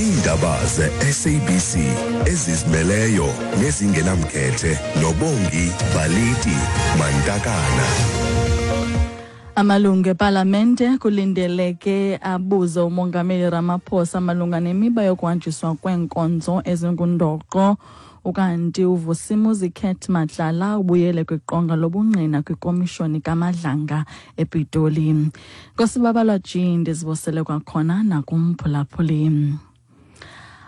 Iindaba ze-SABC ezizimeleyo nezingenamkhethe noBongi Baliti Mantakana. Amalungu epalamente kulindeleke abuze uMongameli Ramaphosa malunga nemiba yokuhanjiswa kweenkonzo ezingundoqo. Ukanti uVusimuzi Cat Matlala ubuyele kwiqonga lobungqina kwikomishoni kaMadlanga ePitoli. Nkosibabalwa G, ndizibosele kwakhona nakumphulaphuli.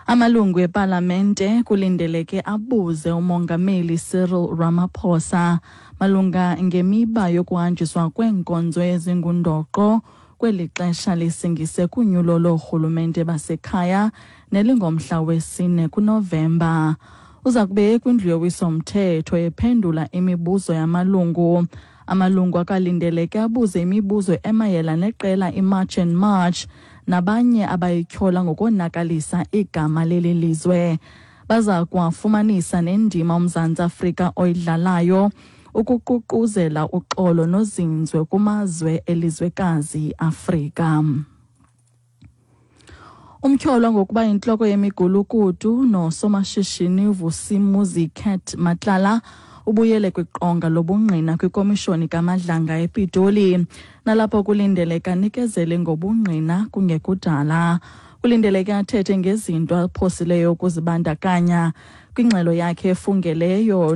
Amalungu epalamente kulindeleke abuze uMongameli Cyril Ramaphosa malunga ngemiba yokuhanjiswa kweenkonzo ezingundoqo kweli xesha lisingise kunyulo loorhulumente basekhaya nelingomhla wesine kuNovemba. Uza kube kwindlu yowiso-mthetho ephendula imibuzo yamalungu. Amalungu akalindeleke abuze imibuzo emayela neqela iMarch and March nabanye abayityhola ngokonakalisa igama leli lizwe. Baza kuwafumanisa nendima uMzantsi Afrika oyidlalayo ukuququzela uxolo nozinzwe kumazwe elizwekazi Afrika. Umtyholwa ngokuba yintloko yemigulukudu nosomashishini Vusimuzi Cat Matlala ubuyele kwiqonga lobungqina kwikomishoni kaMadlanga ePitoli, nalapho kulindeleke anikezele ngobungqina kungekudala. Kulindeleke athethe ngezinto aphosileyo ukuzibandakanya kwingxelo yakhe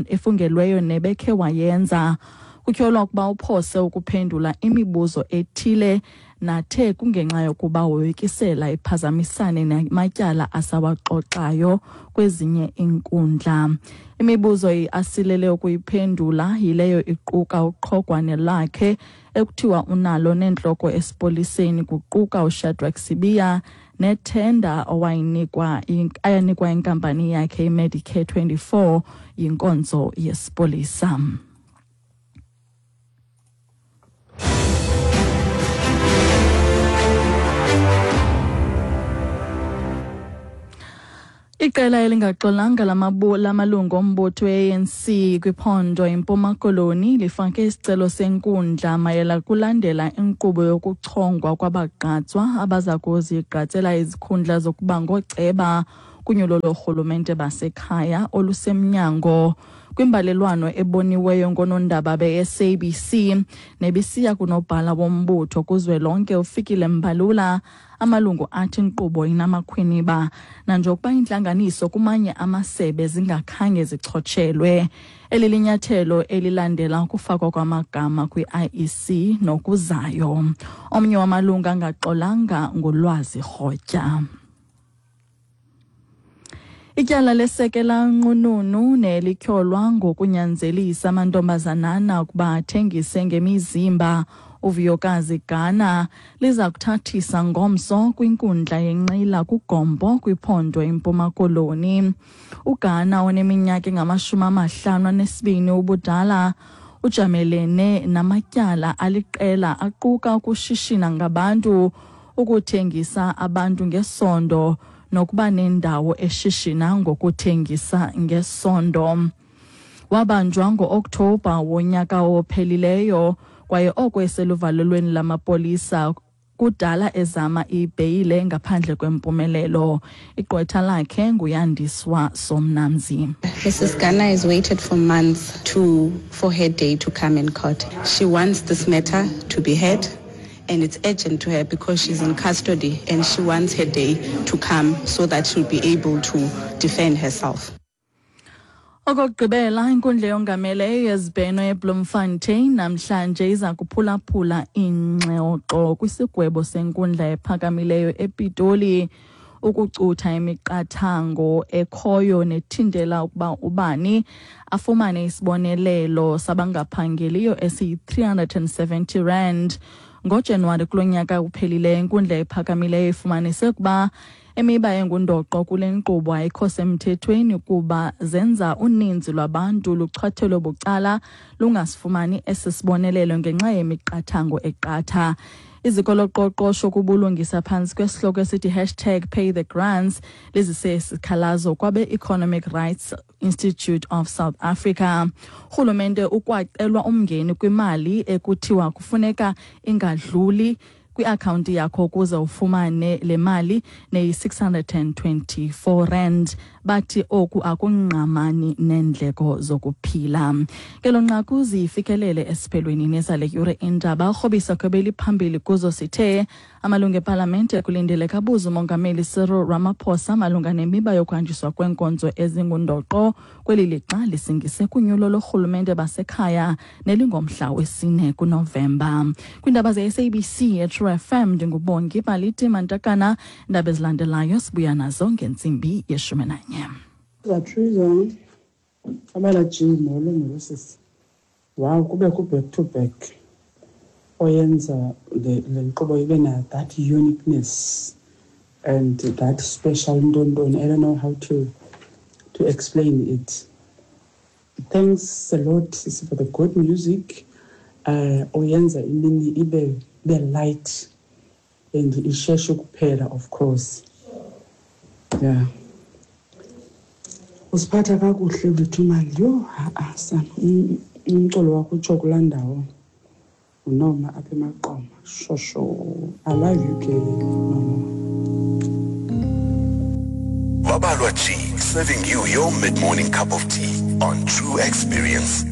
efungelweyo nebekhe wayenza. Kutyholwa ukuba uphose ukuphendula imibuzo ethile nathe kungenxa yokuba woyikisela iphazamisane namatyala asawaxoxayo kwezinye iinkundla. Imibuzo asilele ukuyiphendula yileyo iquka uqhogwane lakhe ekuthiwa unalo nentloko esipoliseni, kuquka uShadrack Sibiya nethenda ayanikwa inkampani yakhe iMedicare 24 yinkonzo yesipolisa. Iqela elingaxolanga lamalungu ombutho we-ANC kwiphondo iMpuma Koloni lifake isicelo senkundla mayela kulandela inkqubo yokuchongwa kwabagqatswa abaza kuzigqatsela izikhundla zokuba ngooceba kunyulo loorhulumente basekhaya olusemnyango. Kwimbalelwano eboniweyo ngoonondaba be-SABC nebisiya kunobhala wombutho kuzwelonke uFikile Mbalula, amalungu athi inkqubo inamakhwiniba nanjengokuba intlanganiso kumanye amasebe zingakhange zichotshelwe. Eli linyathelo elilandela ukufakwa kwamagama kwi-IEC nokuzayo. Omnye wamalungu angaxolanga nguLwazi Rhotya. Ityala lesekela nqununu nelityholwa ngokunyanzelisa amantombazanana ukuba athengise ngemizimba uVuyokazi Gana liza kuthathisa ngomso kwinkundla yenqila kuGompo kwiphondo iMpuma Koloni. UGana oneminyaka engama-52 ubudala ujamelene namatyala aliqela aquka ukushishina ngabantu, ukuthengisa abantu ngesondo nokuba nendawo eshishina ngokuthengisa ngesondo. Wabanjwa ngo-Okthobha wonyaka ophelileyo kwaye oko eseluvalelweni lamapolisa kudala ezama ibheyile ngaphandle kwempumelelo. Igqwetha lakhe nguYandiswa Somnamzi. Mrs. Gana has waited for months for her day to come in court. She wants this matter to be heard, and it's urgent to her because she's in custody and she wants her day to come so that she'll be able to defend herself. Okokugqibela, inkundla yongameleyo yezibheno eBloemfontein namhlanje iza kuphulaphula ingxoxo kwisigwebo senkundla ephakamileyo ePitoli ukucutha imiqathango ekhoyo nethintela ukuba ubani afumane isibonelelo sabangaphangeliyo esiyi-370 rand. NgoJanuwari kulo nyaka uphelileyo, inkundla ephakamileyo ifumanise ukuba imiba engundoqo kule nkqubo ayikho semthethweni kuba zenza uninzi lwabantu luchwathelwe bucala lungasifumani esi sibonelelo ngenxa yemiqathango eqatha. Iziko loqoqosho kubulungisa phantsi kwesihloko esithi hashtag pay the grants lizise isikhalazo kwabe-Economic Rights Institute of South Africa. Urhulumente ukwacelwa umngeni kwimali ekuthiwa kufuneka ingadluli kwiakhawunti yakho ukuze ufumane le mali neyi-624 rand. Bathi oku akungqamani neendleko zokuphila. Ngelo nqaku zifikelele esiphelweni nezale yure indaba. Urhobisa kwebeli phambili kuzo sithe amalungu epalamente kulindeleke abuze umongameli Cyril Ramaphosa malunga nemiba yokuhanjiswa kweenkonzo ezingundoqo kweli lixa lisingise kunyulo lorhulumente basekhaya nelingomhla wesine kuNovemba. Kwiindaba ze-SABC eTrue FM, ndinguBongi Baliti Mantakana. Iindaba ezilandelayo sibuya nazo ngentsimbi ye-11. Zatriza abala G, molo molo sisi. Wow, kubekho back to back oyenza le nkqubo ibe na that uniqueness and that special ntontoni. I don't know how to explain it. Thanks a lot, sisi, for the good music. Oyenza imini ibe light and isheshe kuphela, of course. Yeah. Usiphatha kakuhle wethu mani. Yho, ha-a sana. Umculo wakho utsho kulaa ndawo. Unoma apha eMaqoma. Shosho. I love you ke, Noma. Babalwa G, serving you your mid-morning cup of tea on True Experience.